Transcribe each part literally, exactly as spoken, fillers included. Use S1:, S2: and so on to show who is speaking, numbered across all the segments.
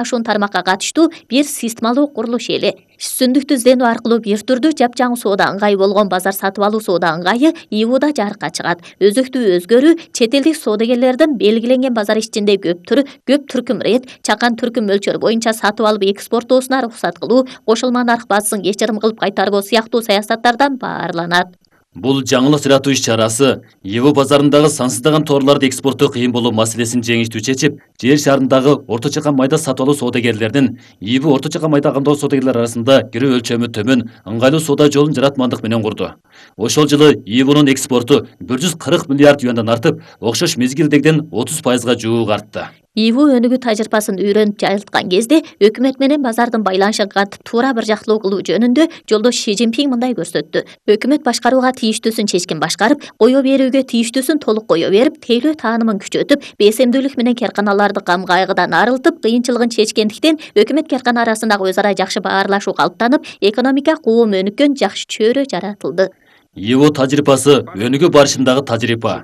S1: ашуун тармакка катыштуу бир системалуу курулуш эле. Сүндүктү изденүү аркылуу бир түрдүү жапжаңы соода ыңгайы болгон базар сатып алуу соода ыңгайы И В У'да жарыкка чыгат. Өзөктүү өзгөрүү чет элдик соодагерлердин белгиленген базар ичинде көп түрү көп түркүм рет, чакан түркүм мөлчөр боюнча сатып алып экспорттоосуна уруксат кылуу, кошулма нарх базасын кечирим кылып кайтарбоо сыяктуу саясаттардан баарланат.
S2: Бул жаңылык жаратуу иш-чарасы И В базарындагы сансыздаган товарларды экспорттоо кыйын болуу маселесин жеңиштүү чечип, жер шарындагы орто чакан майда сатып алуу соодагерлердин И В орто чакан майда кандоо соодагерлер арасында кирүү өлчөмү төмөн, ыңгайлуу соода жолун жаратмандык менен курду. Ошол жылы И В'нун экспорту бир жүз кырк миллиард юандан артып, окшош мезгилдегиден отуз пайызга жуук артты.
S1: И В өнүгүү тажрыйбасын үйрөнүп жайылткан кезде өкмөт менен базардын байланышын кантип туура бир жактылуу кылуу жөнүндө жолдош Ши Цзиньпин мындай көрсөттү. Өкмөт башкарууга тийиштүүсүн чечкин башкарып, кое берүүгө тийиштүүсүн толук кое берип, тейлөө таанымын күчөтүп, бесемдүүлүк менен керканаларды кам кайгыдан арылтып, кыйынчылыгын чечкендиктен өкмөт керкана арасындагы өз ара жакшы баарлашуу калыптанып, экономика куум өнүккөн жакшы чөйрө жаратылды.
S2: И В тажрыйбасы өнүгүү барышындагы тажрыйба.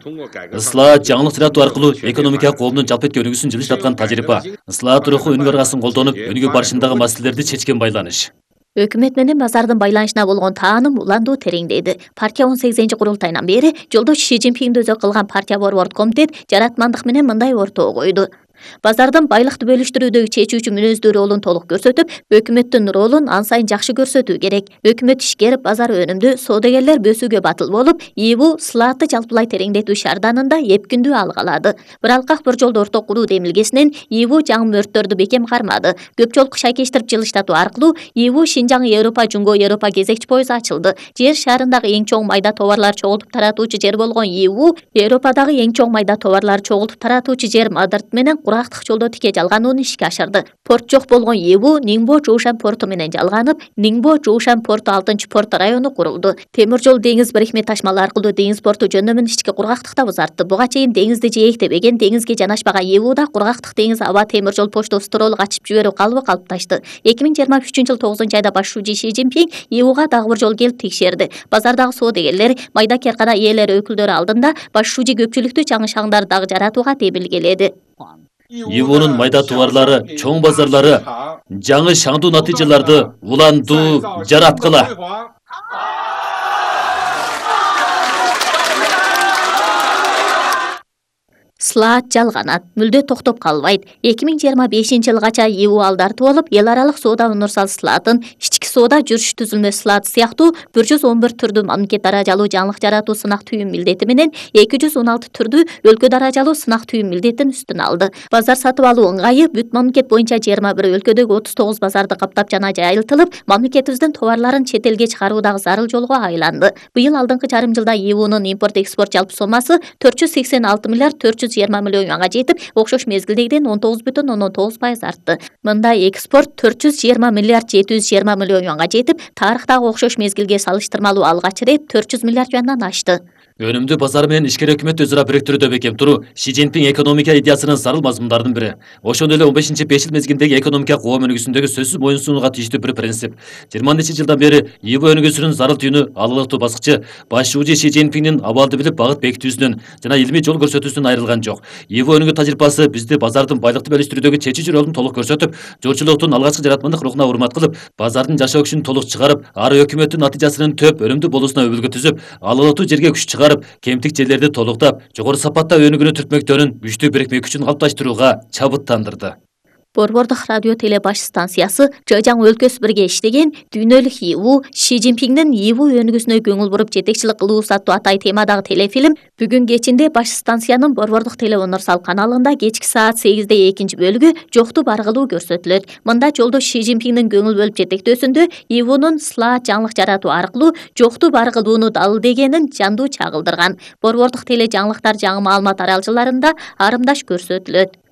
S2: Ислаат жаңылык жаратуу аркылуу экономика коомдун жалпы өнүгүүсүн жылыштаткан тажрыйба. Ислаат руху өнүгүү аргасын колдонуп, өнүгүү барышындагы маселелерди чечкен байланыш.
S1: Өкмөт менен базардын байланышына болгон тааным уландуу тереңдеди. Партия он сегизинчи курултайынан бери жолдош Ши Цзиньпинди өзөк кылган партия борбордук комитет жаратмандык менен мындай ортого койду. Базардын байлыкты бөлүштүрүүдөгү чечүүчү мүнөздүү ролун толук көрсөтүп, өкмөттүн ролун ан сайын жакшы көрсөтүү керек. Өкмөт ишкер, базар өнүмдүү, соодагерлер бөсүүгө батыл болуп, И В сылаатты жалпылай тереңдетүү шаарданында эпкүндүү алга алады. Бир алкак бир жолду орто куруу демилгесинен И В жаңы мөрттөрдү бекем кармады. Көп жолку шайкештирип жылыштатуу аркылуу И В Шинжаң Европа, Жуңго Европа кезекчи пойузу ачылды. Жер шарындагы эң чоң майда товарлар чогултуп таратуучу жер болгон И В Европадагы эң чоң майда товарлар чогултуп таратуучу жер Мадрид менен курактык жолдо тике жалганууну ишке ашырды. Порт жок болгон И В Ниңбо Жоушан порту менен жалганып, Ниңбо Жоушан порту алтынчы порт району курулду. Темир жол деңиз бирикме ташмалары аркылуу деңиз порту жөндөмүн ички кургактыкта узартты. Буга чейин деңизди жээктебеген, деңизге жанашпаган И Вда кургактык деңиз аба темир жол почта строолук ачып жиберүү калыбы калыпташты. эки миң жыйырма үчүнчү жыл тогузунчу айда башчы Ши Цзиньпин И Вга дагы бир жолу келип текшерди. Базардагы соодагерлер, майда керкана ээлери өкүлдөрү алдында башчы көпчүлүктүү чаңы шаңдарды дагы жаратууга тебилгеледи.
S2: И В'нун майда товарлары, чоң базарлары, жаңы шаңдуу натыйжаларды уландуу жараткыла.
S1: Сылаат жалганат, мүлдө токтоп калбайт. эки миң жыйырма бешинчи жылгача И В алдартуу болуп, эл аралык соода универсал сылаатын, ички соода жүрүш түзүлмө сылааты сыяктуу bir жүз он бир түрдүү мамлекет даражалуу жаңылык жаратуу сынак түйүн милдети менен эки жүз он алты түрдүү өлкө даражалуу сынак түйүн милдетин үстүнө алды. Базар сатып алуу ыңгайы бүт мамлекет боюнча жыйырма бир өлкөдөгү отуз тогуз базарды каптап жана жайылтылып, мамлекетибиздин товарларын чет элге чыгаруудагы зарыл жолго айланды. Быйыл алдыңкы жарым жылда И В'нун импорт экспорт жалпы сомасы төрт жүз сексен алты миллиард төрт жүз жыйырма миллион юанга жетип, окшош мезгилдегиден он тогуз бүтүн ондон тогуз пайыз артты. Мындай экспорт төрт жүз жыйырма миллиард жети жүз жыйырма миллион юанга жетип, тарыхтагы окшош мезгилге салыштырмалуу алгач ирет төрт жүз миллиард юандан ашты.
S2: Өнүмдүү базар менен ишкер өкмөт өз ара бириктирүүдө бекем туруу Ши Цзиньпин экономика идеясынын зарыл мазмундардын бири. Ошондой эле он бешинчи беш жыл мезгилдеги экономика коом өнүгүүсүндөгү сөзсүз моюн сунууга тийиштүү бир принцип. жыйырманчы жылдан бери И В өнүгүүсүнүн зарыл түйүнү алылыктуу баскычы башчы Ши Цзиньпиндин абалды билип багыт бекитүүсүнөн жана илмий жол көрсөтүүсүнөн айрылган жок. И В өнүгүү тажрыйбасы бизди базардын байлыкты бөлүштүрүүдөгү чечүүчү ролун толук көрсөтүп, жолчулуктун алгачкы жаратмандык рухуна урмат кылып, базардын жашоо күчүн толук чыгарып, ары өкмөттүн натыйжасынын төп өнүмдүү болуусуна өбөлгө түзүп, алылыктуу жерге күч чыгарып, кемтик жерлерди толуктап, жогору сапатта өнүгүүнү түртмөктөрүн күчтүү бирикме күчүн калыпташтырууга чабыттандырды.
S1: Борбордук радио теле баш станциясы Жыжаң өлкөсү бирге иштеген дүйнөлүк И В Ши Цзиньпиндин И В өнүгүүсүнө көңүл буруп жетекчилик кылуу аттуу атай темадагы телефилм бүгүн кечинде баш станциянын Борбордук теле универсал каналында кечки саат сегизде экинчи бөлүгү жокту баргылуу көрсөтүлөт. Мында жолдош Ши Цзиньпиндин көңүл бөлүп жетектөөсүндө И В'нун сылаат жаңылык жаратуу аркылуу жокту баргылууну далилдегенин жандуу чагылдырган. Борбордук теле жаңылыктар жаңы маалымат аралжаларында арымдаш көрсөтүлөт.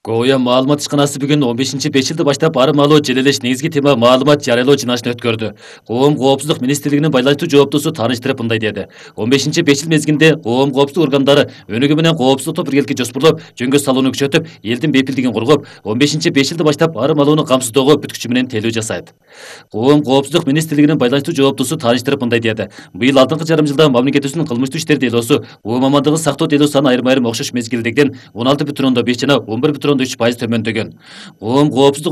S2: Коя маалымат ишканасы бүгүн он бешинчи беш жылды баштап арымалуу желелеш негизги тема маалымат жарыялоо жыйналышын өткөрдү. Коом коопсуздук министрлигинин байланыштуу жооптусу тааныштырып мындай деди. он бешинчи беш жыл мезгилинде коом коопсуздук органдары өнүгүү менен коопсуздукту биргеликке жоспурлап, жөнгө салууну күчөтүп, элдин бейпилдигин коргоп, он бешинчи беш жылды баштап арымалууну камсыздоого бүт күчү менен тейлөө жасайт. Коом коопсуздук министрлигинин байланыштуу жооптусу тааныштырып мындай деди. Быйыл алдыңкы жарым жылда мамлекетибиздин кылмыштуу иштер делосу, оо мамандыгын сактоо делосу аны айрым-айрым окшош мезгилдегиден он алты бүтүн ондон беш жана он бир бүтүн ондо үч пайыз төмөндөгөн. Коом коопсуздук